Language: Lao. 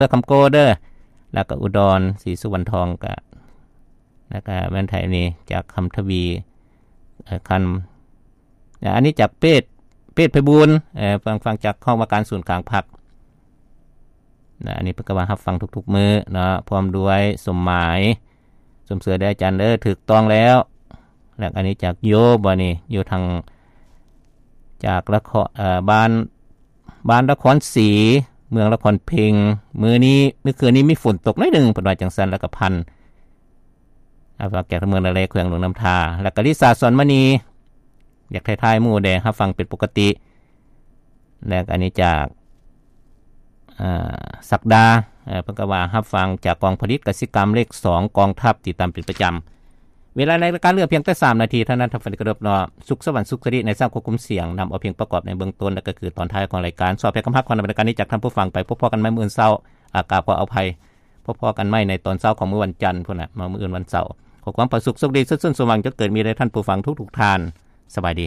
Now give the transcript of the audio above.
ເດີ ຄຳໂກເດີ ແລ້ວກໍອຸດອນ ສີສຸວັນທອງ ກະ ແລ້ວກໍແມ່ນໃຜນີ້ ຈາກຄຳທະວີ ເອີ ຄຳ ອັນນີ້ຈາກເປດ ເປດໄພບູນ ເອີ ຟັງ ຟັງຈາກຫ້ອງວ່າການສູນກາງພັກນະ. ອັນນີ້ເພິ່ນກໍວ່າຮັບຟັງທຸກໆມື້ເນາະ ພ້ອມດ້ວຍສົມໝາຍ ຊົມເຊີຍເດີອາຈານເດີ ຖືກຕ້ອງແລ້ວ. ແລ້ວອັນນີ້ຈາກໂຍບໍນີ້ ຢູ່ທາງ ຈາກລະຄອນ ເອີ ບ້ານ ບ້ານລະຄອນສີ ເມືອງລະຄອນເພັງ ມື້ນີ້ ມື້ຄືນນີ້ມີຝົນຕົກໜ້ອຍໜຶ່ງ ເພິ່ນວ່າຈັ່ງຊັ້ນ. ແລ້ວກໍພັນ ອາ ຝາກຈາກເມືອງນາແລ ແຂວງຫຼວງນ້ຳທາ. ແລ້ວກໍລິສາ ສອນມະນີ ຢາກທັກທາຍໝູ່ແດ່ ຮັບຟັງເປັນປົກກະຕິ. ແລ້ວກໍອັນນີ້ຈາກ ອາ ສັກດາ ເອີ ເພິ່ນກໍວ່າຮັບຟັງຈາກກອງຜະລິດກະສິກຳເລກສອງ ກອງທັບ ຕິດຕາມເປັນປະຈຳ. ເວລາໃນລາຍການເຫຼືອພຽງແຕ່ສາມນາທີເທົ່ານັ້ນ ທ່ານຜູ້ຟັງທີ່ເຄົາລົບເນາະ. ສຸກສະຫວັນ ສຸກສະລິ ໃນຊາວຄວບຄຸມສຽງ ນຳເອົາພຽງປະກອບໃນເບື້ອງຕົ້ນ ແລະ ກໍຄືຕອນທ້າຍຂອງລາຍການ. ສອບໃຫ້ຄຳຮັກຂອງໃນບັນດາການນີ້ຈາກທ່ານຜູ້ຟັງໄປ. ພົບພໍ້ກັນໃໝ່ມື້ອື່ນເຊົ້າ. ອາ ກາບຂໍອະໄພ. ພົບພໍ້ກັນໃໝ່ໃນຕອນເຊົ້າຂອງມື້ວັນຈັນພຸ້ນນະ ມາມື້ອື່ນວັນເສົາ. ຂໍຄວາມຜາສຸກໂຊກດີ ສຸກສົມຫວັງ ຈົ່ງເກີດມີແດ່ທ່ານຜູ້ຟັງທຸກໆທ່ານ. ສະບາຍດີ.